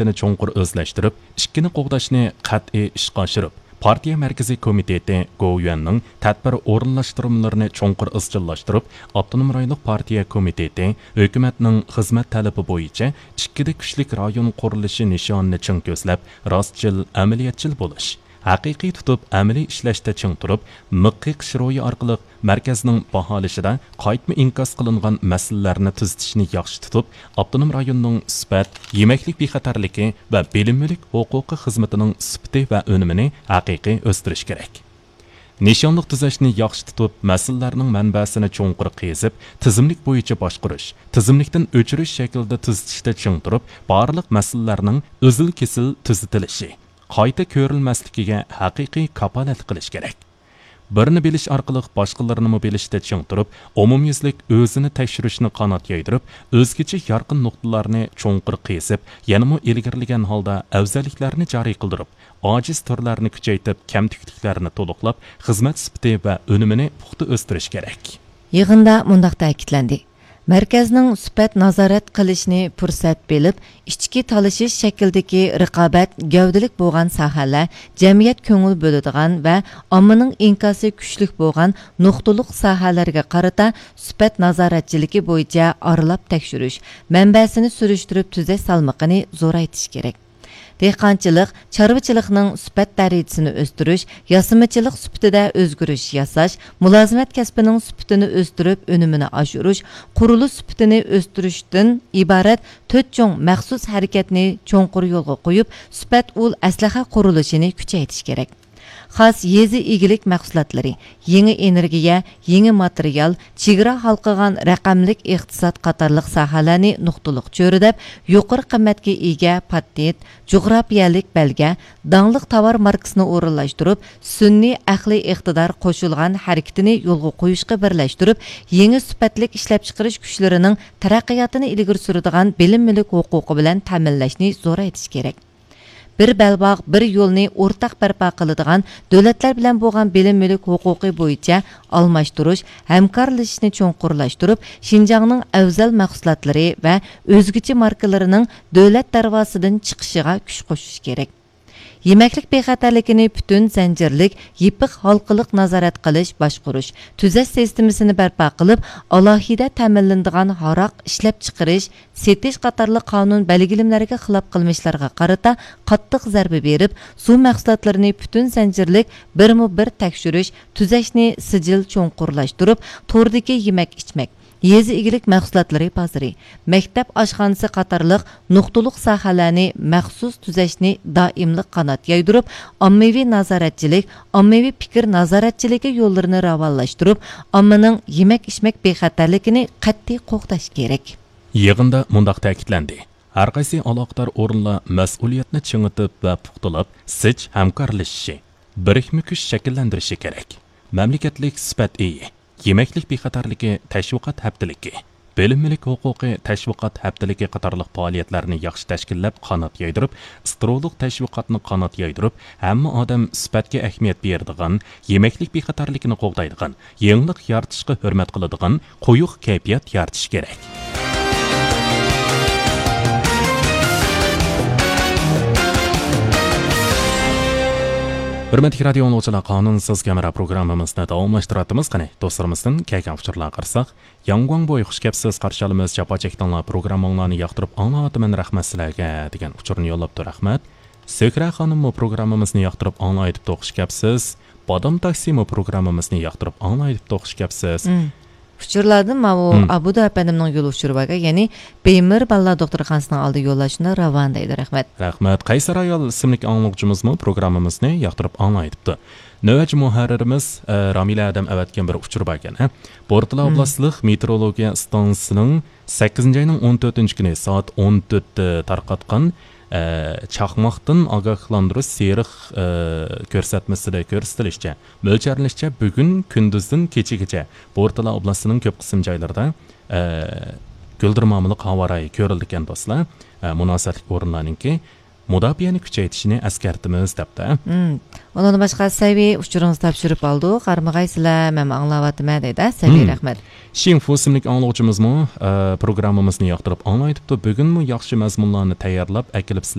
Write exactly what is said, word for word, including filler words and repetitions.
سۈپىتىنى چوڭقۇر ئۆزلەشتۈرۈپ، ئىككىنى قوغداشنى قەتئىي ئىشقا ئاشۇرۇپ، پارتىيە مەركىزىي كومىتېتى گوۋۇيۈەننىڭ تەدبىر ئورۇنلاشتۇرمىلىرىنى چوڭقۇر ئىزچىللاشتۇرۇپ، ئاپتونوم رايونلۇق پارتىيە كومىتېتى ھۆكۈمەتنىڭ خىزمەت تەلىپى بويىچە ئىككىدە كۈچلۈك رايون قۇرۇلۇشى نىشانىنى چىڭ كۆزلەپ، راستچىل، ئەمەلىيەتچىل بولۇش، ھەقىقىي تۇتۇپ ئەمەلىي ئىشلەشتە چىڭ تۇرۇپ، مىخ قېقىش روھى ئارقىلىق مەركەزنىڭ باھالىشىدا قايتما ئىنكاس قىلىنغان مەسىلىلەرنى تۈزىتىشنى ياخشى تۇتۇپ، ئاپتونوم رايوننىڭ سۈپەت، يېمەكلىك بىخەتەرلىكى ۋە بىلىم مۈلۈك ھوقۇقى خىزمىتىنىڭ سۈپىتى ۋە ئۈنۈمىنى ھەقىقىي ئۆستۈرۈش كېرەك. نىشانلىق تۈزەشنى ياخشى تۇتۇپ، مەسىلىلەرنىڭ مەنبەسىنى چوڭقۇر قېزىپ، تىزىملىك بويىچە باشقۇرۇش، تىزىملىكتىن ئۆچۈرۈش شەكلىدە تۈزىتىشتە چىڭ تۇرۇپ، بارلىق مەسىلىلەرنىڭ ئۈزۈل-كېسىل تۈزىتىلىشى، قايتا كۆرۈلمەسلىكىگە ھەقىقىي كاپالەتلىك قىلىش كېرەك. بىرنى بىلىش ئارقىلىق باشقىلىرىنىمۇ بىلىشتە چىڭ تۇرۇپ، ئومۇميۈزلۈك ئۆزىنى تەكشۈرۈشنى قانات يايدۇرۇپ، ئۆزگىچە يارقىن نۇقتىلارنى چوڭقۇر قېزىپ، يەنىمۇ ئىلگىرىلىگەن ھالدا ئەۋزەللىكلەرنى جارى قىلدۇرۇپ، ئاجىز تۈرلەرنى كۈچەيتىپ، كەمتۈكلۈكلەرنى تولۇقلاپ، خىزمەت سۈپىتى ۋە ئۈنۈمىنى پۇختا ئۆستۈرۈش كېرەك. يىغىندا مۇنداق تەكىتلەندى: مەركەزنىڭ سۈپەت نازارەت قىلىشنى پۇرسەت بىلىپ، ئىچكى تالىشىش شەكلىدىكى رىقابەت گەۋدىلىك بولغان ساھەلەر، جەمئىيەت كۆڭۈل بۆلىدىغان ۋە ئاممىنىڭ ئىنكاسى كۈچلۈك بولغان نۇقتىلىق ساھەلەرگە قارىتا سۈپەت نازارەتچىلىكى بويىچە ئارىلاپ تەكشۈرۈش، مەنبەسىنى سۈرۈشتۈرۈپ تۈزەش سالمىقىنى زورايتىش كېرەك. دېھقانچىلىق، چارۋىچىلىقنىڭ سۈپەت دەرىجىسىنى ئۆستۈرۈش، ياسىمىچىلىق سۈپىتىدە ئۆزگىرىش ياساش، مۇلازىمەت كەسپىنىڭ سۈپىتىنى ئۆستۈرۈپ، ئۈنۈمىنى ئاشۇرۇش، قۇرۇلۇش سۈپىتىنى ئۆستۈرۈشتىن ئىبارەت تۆت چوڭ مەخسۇس ھەرىكەتنى چوڭقۇر يولغا قويۇپ، سۈپەت ئۇل ئەسلىھە قۇرۇلۇشىنى كۈچەيتىش كېرەك. خاس يېزا ئىگىلىك مەھسۇلاتلىرى، يېڭى ئېنېرگىيە، يېڭى ماتېرىيال، چېگرا ھالقىغان رەقەملىك ئىقتىساد قاتارلىق ساھەلەرنى نۇقتىلىق چۆرىدەپ، يۇقىرى قىممەتكە ئىگە پاتېنت، جۇغراپىيەلىك بەلگە، داڭلىق تاۋار ماركىسىنى ئورۇنلاشتۇرۇپ، سۈنئىي ئەقلىي ئىقتىدار قوشۇلغان ھەرىكىتىنى يولغا قويۇشقا بىرلەشتۈرۈپ، يېڭى سۈپەتلىك ئىشلەپچىقىرىش كۈچلىرىنىڭ تەرەققىياتىنى ئىلگىرى سۈرىدىغان بىلىم مۈلۈك ھوقۇقى بىلەن تەمىنلەشنى زورايتىش كېرەك. بىر بەلباغ، بىر يولنى ئورتاق بەرپا قىلىدىغان، دۆلەتلەر بىلەن بولغان بىلىم مۈلۈك ھوقۇقى بويىچە ئالماشتۇرۇش، ھەمكارلىشىشنى چوڭقۇرلاشتۇرۇپ، شىنجاڭنىڭ ئەۋزەل مەھسۇلاتلىرى ۋە ئۆزگىچە ماركىلىرىنىڭ دۆلەت دەرۋازىسىدىن چىقىشىغا كۈچ قوشۇش كېرەك. يېمەكلىك بىخەتەرلىكىنى پۈتۈن زەنجىرلىك، يېپىق ھالقىلىق نازارەت قىلىش، باشقۇرۇش، تۈزەش سىستېمىسىنى بەرپا قىلىپ، ئالاھىدە تەمىنلىنىدىغان ھاراق ئىشلەپچىقىرىش، سېتىش قاتارلىق قانۇن بەلگىلىمىلەرگە خىلاپ قىلمىشلارغا قارىتا قاتتىق زەربە بېرىپ، سۇ مەھسۇلاتلىرىنى پۈتۈن زەنجىرلىك بىرمۇ بىر تەكشۈرۈش، تۈزەشنى سىجىل چوڭقۇرلاشتۇرۇپ، توردىكى يېمەك-ئىچمەك، يېزا ئىگىلىك مەھسۇلاتلىرى بازىرى، مەكتەپ ئاشخانىسى قاتارلىق نۇقتىلىق ساھەلەرنى مەخسۇس تۈزەشنى دائىملىق قانات يايدۇرۇپ، ئاممىۋى نازارەتچىلىك، ئاممىۋى پىكىر نازارەتچىلىكى يوللىرىنى راۋانلاشتۇرۇپ، ئاممىنىڭ يېمەك-ئىچمەك بىخەتەرلىكىنى قەتئىي قوغداش كېرەك. يىغىندا مۇنداق تەكىتلەندى: ھەرقايسى ئالاقىدار ئورۇنلار مەسئۇلىيەتنى چىڭىتىپ ۋە پۇختىلاپ، زىچ ھەمكارلىشىشى، بىرىكمە كۈچ شەكىللەندۈرۈشى كېرەك. مەملىكەتلىك سۈپەت ئېيى، يېمەكلىك بىخەتەرلىكى تەشۋىقات ھەپتىلىكى، بىلىم مۈلۈك ھوقۇقى تەشۋىقات ھەپتىلىكى قاتارلىق پائالىيەتلەرنى ياخشى تەشكىللەپ، قانات يايدۇرۇپ، سترولۇق تەشۋىقاتنى قانات يايدۇرۇپ، ھەممە ئادەم سۈپەتكە ئەھمىيەت بېرىدىغان، يېمەكلىك بىخەتەرلىكىنى قوغدايدىغان، يېڭىلىق يارىتىشقا ھۆرمەت قىلىدىغان قويۇق كەيپىيات يارىتىش كېرەك. ھۆرمەتلىك رادىيو ئاڭلىغۇچىلار، قانۇنسىز كامېرا پروگراممىمىزنى داۋاملاشتۇرۇۋاتىمىز. قېنى، دوستلىرىمىزدىن كەلگەن ئۇچۇرلارغا قارىساق، ياڭگۇاڭبوي، خۇش كەپسىز، قارشى ئالىمىز، جاپا چەكتىڭلار، پروگرامماڭلارنى ياقتۇرۇپ ئاڭلاۋاتىمەن، رەھمەت سىلەرگە، دېگەن ئۇچۇرنى يوللاپتۇ، رەھمەت. سۆھرە خانىممۇ پروگراممىمىزنى ياقتۇرۇپ ئاڭلايدىپتۇ، خۇش كەپسىز. بادام تاكسىمۇ پروگراممىمىزنى ياقتۇرۇپ ئاڭلايدىپتۇ، خۇش كەپسىز. مم. ئۇچۇرلاردىن ماۋۇ مم. ئابۇدۇ ئەپەندىمنىڭ يول ئۇچۇرى باركەن، يەنى بېيمېر بالىلار دوختۇرخانىسىنىڭ ئالدىدا يوللاشنى راۋان دەيدۇ، رەھمەت. رەھمەت. قەيسەر ئايال ئىسىملىك ئاڭلىغۇچىمىزمۇ پروگراممىمىزنى ياقتۇرۇپ ئاڭلايدىپتۇ. نۆۋەتچى مۇھەررىرىمىز، ئە، رامىلە ئادەم ئەۋەتكەن بىر ئۇچۇر باركەن، ھە؟ بورتالا مم. ئوبلاستلىق مېتېئورولوگىيە ئىستانسىسىنىڭ سەككىزىنچى ئاينىڭ ئون تۆتىنچى كۈنى سائەت ئون تۆتتە تارقاتقان، ئە، چاقماقتىن ئاگاھلاندۇرۇش سېرىق، ئە، كۆرسەتمىسىدە كۆرسىتىلىشىچە، مۆلچەرلىنىشىچە، بۈگۈن كۈندۈزدىن كېچىگىچە بورتالا ئوبلاستىنىڭ كۆپ قىسىم جايلىرىدا، ئە، گۈلدۈرمامىلىق ھاۋا رايى كۆرۈلىدىكەن، دوستلار. ئە، مۇناسىۋەتلىك ئورۇنلارنىڭكى مۇداپىئەنى كۈچەيتىشىنى ئەسكەرتىمىز، دەپتۇ. مم. ئۇنىڭدىن باشقا، سەۋىي، ئۇچۇرىڭىزنى تاپشۇرۇپ ئالدۇق، قارىمىغايسىلەر، مەنمۇ ئاڭلاۋاتىمەن، دەيدۇ. سەۋىي، مم. رەھمەت. شىڭفۇ ئىسىملىك ئاڭلىغۇچىمىزمۇ، ئە، پروگراممىمىزنى ياقتۇرۇپ ئاڭلايدىپتۇ. بۈگۈنمۇ ياخشى مەزمۇنلارنى تەييارلاپ ئەكېلىپسىلەر،